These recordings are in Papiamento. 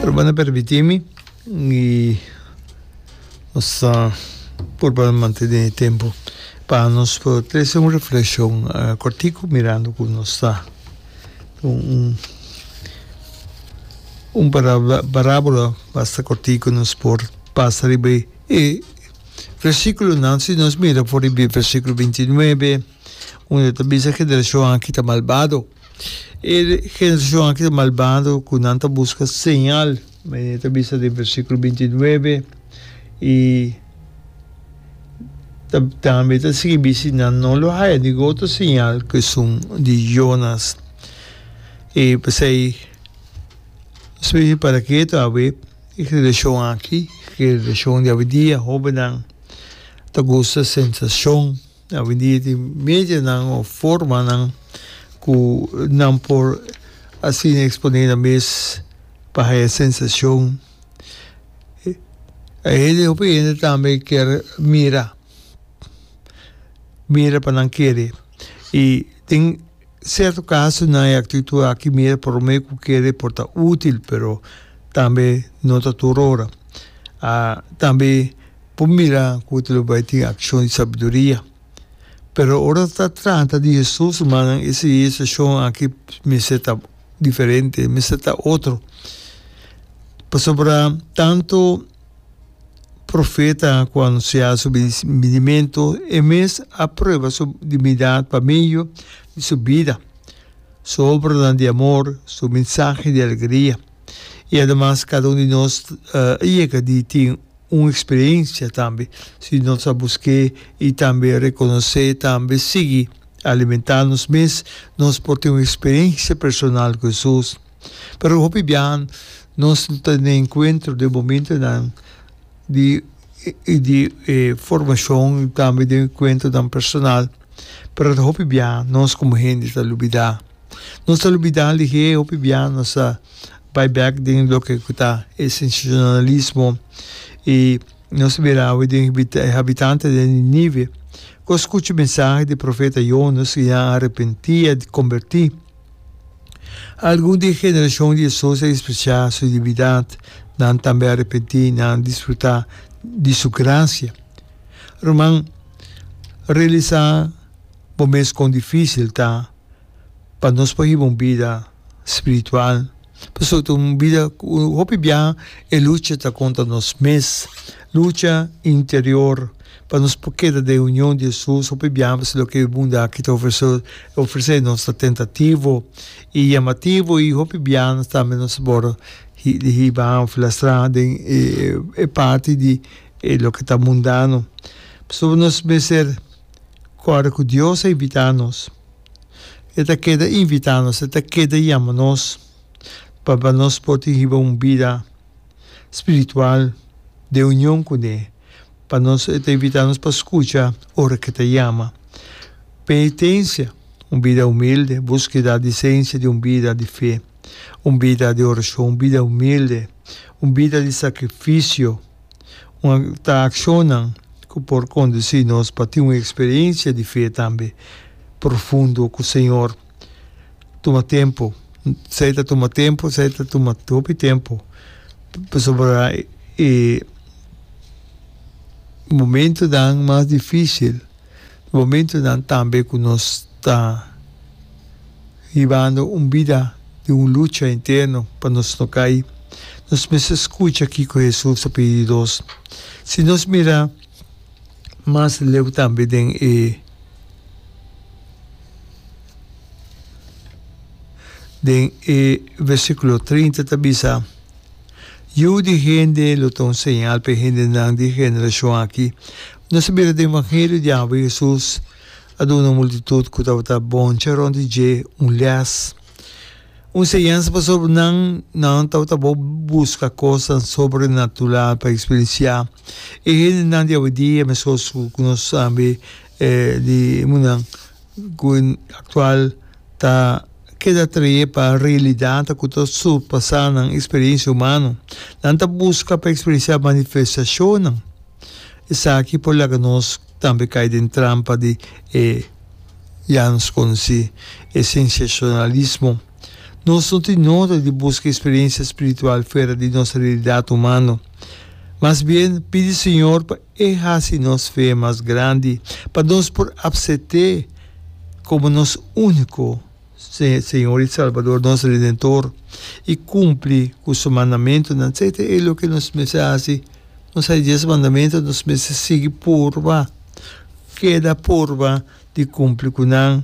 Ruman a permití mi i nos ta purba mantené e tempu pa nos por trese un reflekshon kòrtiku mirando ku nos ta un un parábola basta kòrtiku nos por pasa riba e versíkulonan. Si nos mira for di versíkulo bintinuebe unda ta bisa generashon aki ta malbado. E generashon aki ta malbado ku nan ta buska señal, manera ta bisa den versíkulo bintinuebe, i ta tambe ta sigui bisa nan no lo haya ningun otro señal ku esun di Jonas. I p'esei nos mester para ketu awe e generashon aki, generashon di awendia, hóbennan ta gusta sensashon. Awendia tin medianan of formanan ku nan por asina eksponé nan mes pa haya sensashon. E hende, hopi hende tambe kier mira, mira pa nan kere. I den sierto kasonan e aktitud aki mira promé ku kere por ta útil, pero tambe no ta tur ora. Tambe. Por mira ku ta lo bai tin akshon di sabiduria. Pero ora ta trata di Hesus, rumannan, e situashon aki mester ta diferente, mester ta otro. Pasobra tantu profeta ku a anunsiá su binimentu, e mes a prueba su divinidad pa medio di su bida, su obranan di amor, su mensahe di alegria. I ademas kada un di nos a yega di tin un experiencia tambe si nos a busk'é y tambe reconoce tambe sigui alimenta nos mes nos por tin un experiencia personal cu Hesus. Pero hopi biaha nos no ta den encuentro den momentonan di di e formacion y tambe den encuentronan personal pero hopi biaha nos como hende ta lubida. Nos ta lubida lihé hopi biaha nos ta bai bek den loke ku ta e sensacionalismo i nos ta bira awe den e habitante den Ninive ku a skucha mensahe di profeta Jonas i nan a arepentí a kombertí. Algun di e generashon di Hesus a ekspresá su divindat, nan tambe a arepentí i nan a disfrutá di su grasia. Ruman, realisá bo mes kon difísil ta pa nos por hiba un bida spiritual. Pasobra ta un bida ku hopi biaha e lucha ta kontra nos mes, lucha interior pa nos por keda den union di Hesus. Hopi biaha pasobra loke e mundu aki ta ofresé nos ta tentativo i yamativo i hopi biaha nos tambe nos por hiba òf lastrá den e parti di e loke ta mundano. Pasobra nos mester kòrda ku Dios a invitá nos. E ta keda invitá nos, e ta keda yama nos pa pa nos por tin hiba un bida spiritual den union kuné. Pa nos e ta invitá nos pa skucha ora ku e ta yama. Penitensia, un bida humilde, búskeda di esensia di un bida di fe, un bida di orashon, un bida humilde, un bida di sakrifisio. Un ta akshonnan ku por kondusí nos pa tin un eksperensia di fe tambe profundo ku Señor. Tuma tempu, esei ta tuma tempu, esei ta tuma hopi tempu, pasobra e momentunan mas difísil, momentunan tambe ku nos ta hibando un bida di un lucha interno pa nos no kai. Nos mester skucha kiko Hesus ta pidi di nos. Si nos mira mas leu tambe den e den e versíkulo 30 ta bisa, Yu di hende lo ta un señal pa e hendenan di e generashon aki. Nos a mira den Evangelio di awe Hesus a duna un multitut ku tabata boncha rònt di dje un lès, un señansa pasobra nan nan tabata bo buska kosnan sobrenatural pa eksperensiá. E hendenan di awendia meskos ku nos tambe di e mundan ku aktual ta keda atraé pa realidatnan ku ta surpasá nan eksperensia humano. Nan ta buska pa eksperensiá manifestashonnan. Esaki por laga nos tambe kai den trampa di e ya nos konosí, e sensacionalismo. Nos no tin nota di buska eksperensia spiritual fuera di nos realidat humano. Mas bien, pidi Señor pa E hasi nos fe mas grandi, pa nos por apsept'E komo nos úniko Señor i Salbador, nos Redentor, i kumpli ku Su mandamentunan. Esei ta e loke nos mester hasi. Nos hay dies mandamentu, nos mester sigui purba, keda purba di kumpli ku nan.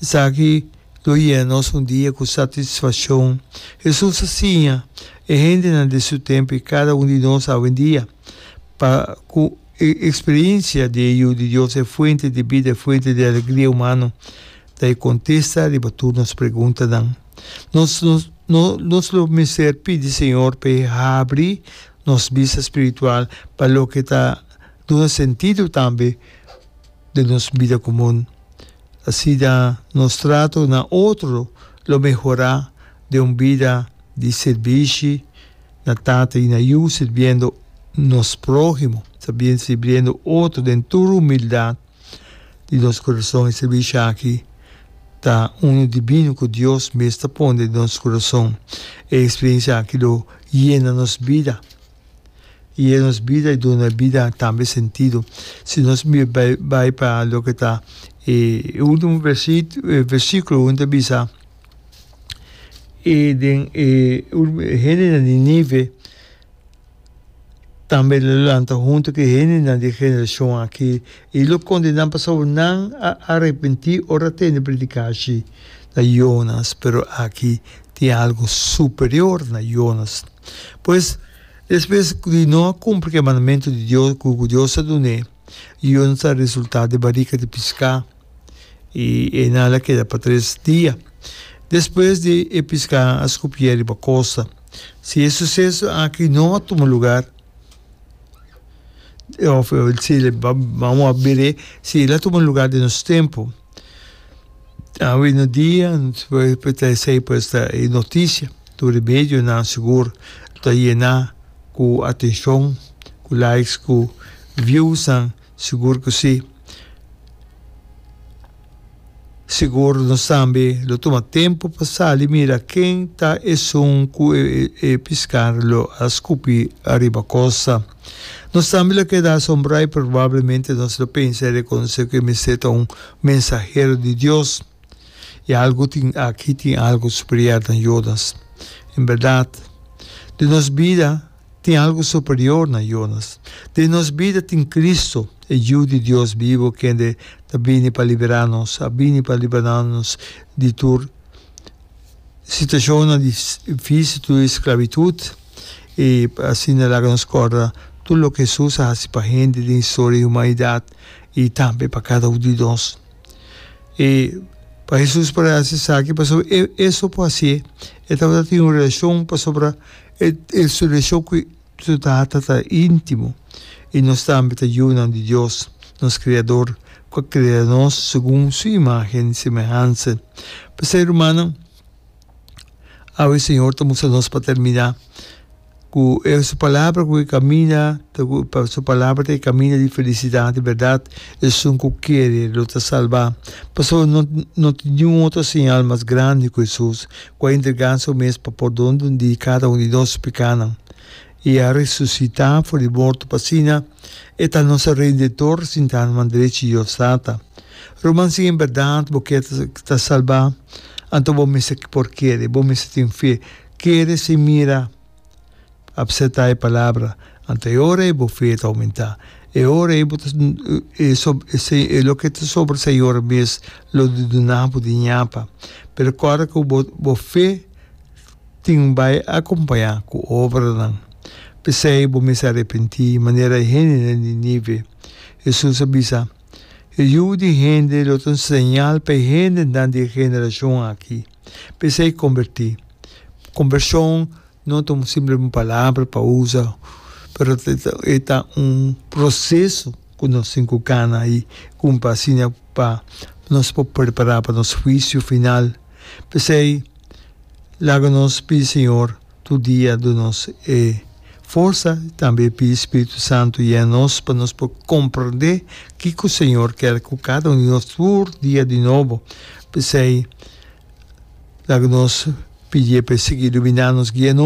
Esaki lo yena nos un dia ku satisfakshon. Hesus a siña e hendenan di su tempu i kada un di nos awendia pa ku e eksperensia di e Yu di Dios, e fuente di bida, e fuente di alegria humano, ta e kontesta riba tur nos preguntanan. Nos nos lo mester pidi Señor pa e habri nos bista spiritual pa loke ta duna sentido tambe den nos bida komun. Asina nos trato na otro lo mehorá den un bida di sirbishi na Tata i na Yu, sirbiendo nos próhimo, sirbiendo otro den tur humildat di nos kurason. E sirbishi aki ta unu dibino ku Dios mes ta pone den nos kurason. E eksperensia aki lo yena nos bida. Yena nos bida i duna e bida tambe sentido. Si nos bai pa loke ta e ultimo versikulo unda ta bisa e den e hendenan di Nínive tambe lo lanta huntu ku e hendenan di e generashon aki i lo kondená pasobra nan a arepentí ora a tende predikashi na Jonas, pero aki tin algu superior na Jonas. Pues, despues di no a kumpli ku e mandamentu di Dios ku Dios a dun'é, Jonas a resultá den barika di piská i einan el a keda pa tres dia. Despues di e piská a skupié riba kosta. Si e suseso aki no a tuma lugar, òf si bamos a bir'é, si el a tuma lugar den nos tempu, Awe no dia ta esei pues ta e noticia tur e medionan sigur ta yena cu atencion cu likes cu viewsnan sigur cu si. Sigur nos tambe lo tuma tempo pa sali mira ken ta esun cu e piscar lo a scupi ariba costa. Nos tambe lo keda asombrá i probablemente nos lo pensa i rekonosé ku e mester ta un mensahero di Dios. I algu tin aki tin algu superior na Jonas. En bèrdat, den nos bida tin algu superior na Jonas. Den nos bida tin Cristo, e Yu di Dios bibu kende ta bini pa liberá nos, a bini pa liberá nos di tur Situashonnan difísil tur e sklabitut i asina laga nos kòrda tur loke Hesus a hasi pa hende den historia di humanidat i tambe pa kada un di nos. I pa Hesus por a hasi esaki pasobra e e so por hasié, e tabata tin un relashon pasobra e su relashon ku Su Tata ta íntimo i nos tambe ta yunan di Dios, nos Kreador, ku a krea nos segun Su imágen i semehansa. P'esei, rumannan, awe Señor ta mustra nos pa terminá ku e Su Palabra ku e kaminda ta ku pa Su Palabra ta e kaminda di felisidat i bèrdat, esun ku kere lo ta salbá. Pasobra no no tin niun otro señal mas grandi ku Hesus, ku a entregá Su mes pa pordon di kada un di nos pikánan i a resusitá for di morto pa asina E ta nos Redentor sintá na man drechi di Dios Tata. Ruman, si en bèrdat bo ke ta salbá, anto bo mester por kere, bo mester tin fe. Kere sin mira. Apseptá e palabra, anto e ora ei bo fe ta oumentá. E ora ei bo ta e loke ta sobra Señor mes lo duna bo di ñapa. Pero kòrda ku bo bo fe tin bai akompañá ku obranan. P'esei bo mester arepentí manera e hendenan di Nínive. Hesus a bisa, E Yu di hende lo ta un señal pa e hendenan di e generashon aki. P'esei kombertí. Kombershon No ta un simple un palabra pa usa, pero e ta un proceso cu nos tin cu cana y cumpra asina pa nos por prepara pa nos huicio final. P'esey laga nos pidi Señor tur dia duna nos e forsa y tambe pidi Spiritu Santo yena nos pa nos por comprende kico Señor kier cu cada un di nos tur dia di nobo. P'esey laga nos. Pidié pa e sigui iluminá nos, guia nos.